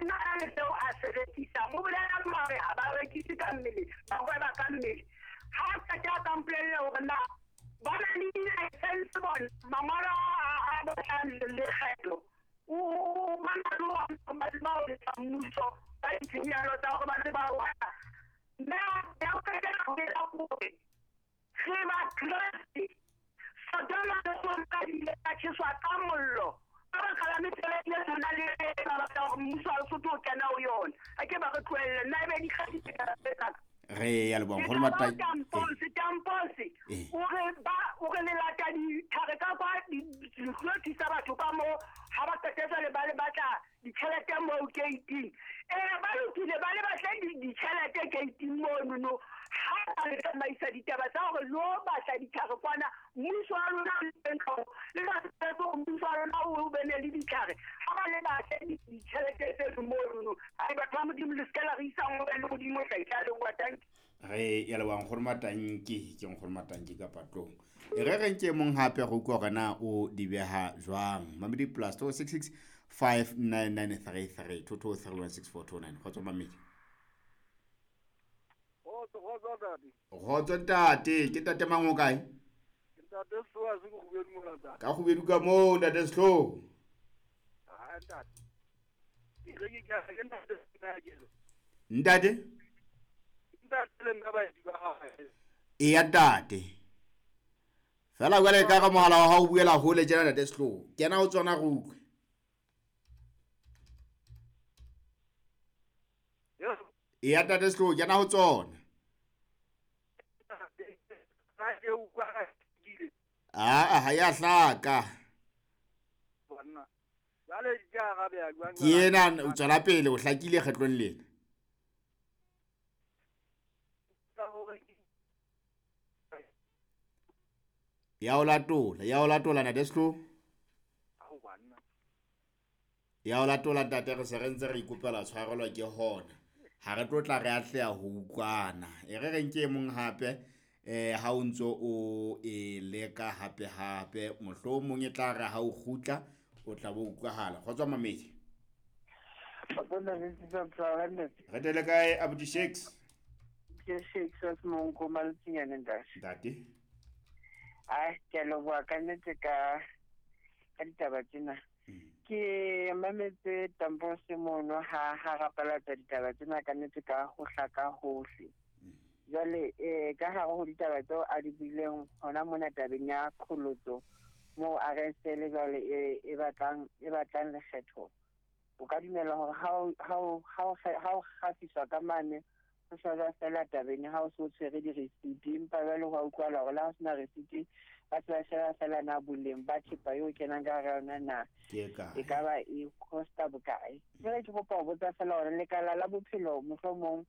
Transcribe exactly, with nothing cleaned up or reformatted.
nna a le seo a se rekisang. O bolela mare ha ba rekise ka mmele, ba hweba ka mmele. Ha a qeta a ka mpolelle hore na ba na le di-license bona, mangolo a a bontshang lekgetho. O ba na le ona ba tseba ho lefa mmuso ka ditshenyehelo tsa hore ba tseba ho. Nna ya ho qetela ho etsa hore re Bakreste, Sodoma le Gomora di ile tsa tjheswa ka mollo ka baka la mesebetsi e tshwanang le e ba batla hore mmuso wa Lesotho o kena ho yona. Ha ke ba re tlohelle nna ebe dikgadi tse tsa ka. Re ya leboha nkgono Matai. Tamposi, Tamposi, Eh. o re ba o re le lata ditlhare ka kwa di di tlo thusa batho ka moo ha ba qeta jwale ba le batla ditjhelete moo gate-ing. Eh ba lokile ba le batle ditjhelete gate-ing mono no. Ha ba le tsamaisa ditaba tsa hore lo batla ditlhare kwana mmuso wa lona o teng ka ho le sa tsebe hore mmuso wa lona o be ne le ditlhare. Ha ba le batle ditjhelete tse mono no. Ai batho ba Modimo le se ke la re isa hole le Modimo o tla itla le bua thank you. Re ya leboha nkgono Matanki, ke nkgono Matanki ka patlong. E re re nke mong hape re utlwe hore na o di beha jwang. Mamedi plus two six six five nine nine three three two two three one six four two nine. Kgotso mamedi. Kgotso, kgotso ntate. Kgotso ntate, ke ntate mang o kae? Ke ntate Sehlooho se ke Kgubedu mona ntate. Ka Kgubedu ka moo ntate Sehlooho. Ha ntate. Ke re ke ka ke ntate nna ke re. Ntate? Ntate le nna baeti ba hae. Eya ntate. Fela jwale ka re mohala wa hao o buela hole tjena ntate Sehlooho. Kena ho tsona re utlwe. Eya ntate Sehlooho, kena ho tsona. Ah, ha ya hlaka. Banna. Jwale ke arabeya jwang? Ke ena o tswela pele o hlakile kgetlong lena. Ya o latola, ya o latola ntate Sehlooho. Ao banna. Ya o latola ntate, re se re ntse re ikopela tshwarelo ke hona. Ha re tlo tla re atleha ho utlwana. E re re nke e mong hape eh ha o ntso o e leka hape hape mohlomong e tla re ha o kgutla o tla bo utlwahala. Kgotso mamedi. Re tele kae abuti Shakes? Ke Shakes wa Semonko Maltsinyane ntate. Ntate. Ai, ke a leboha ka nnete ka ka ditaba tsena. Ke mametse Tamposi mono ha ha rapalatsa ditaba tsena ka nnete ka ho hlaka hohle. Jwale eh ka hare ho ditaba tseo a di buileng hona mona tabeng ya qholotso moo a re sele jwale e, e batlang, e batlang lekgetho. O ka dumela hore ha o, ha o, ha o, ha o kgafiswa ka mane ho shejwa fela tabeng ha o so tshwere di-receipt, empa jwale ho a utlwahala hore le ha o sena receipt ba se ba sheba fela na boleng ba thepa eo kenang ka hara yona na Ke kae? e ka ba e costa bokae. Jwale ke kopa ho botsa fela hore lekala la bophelo mohlomong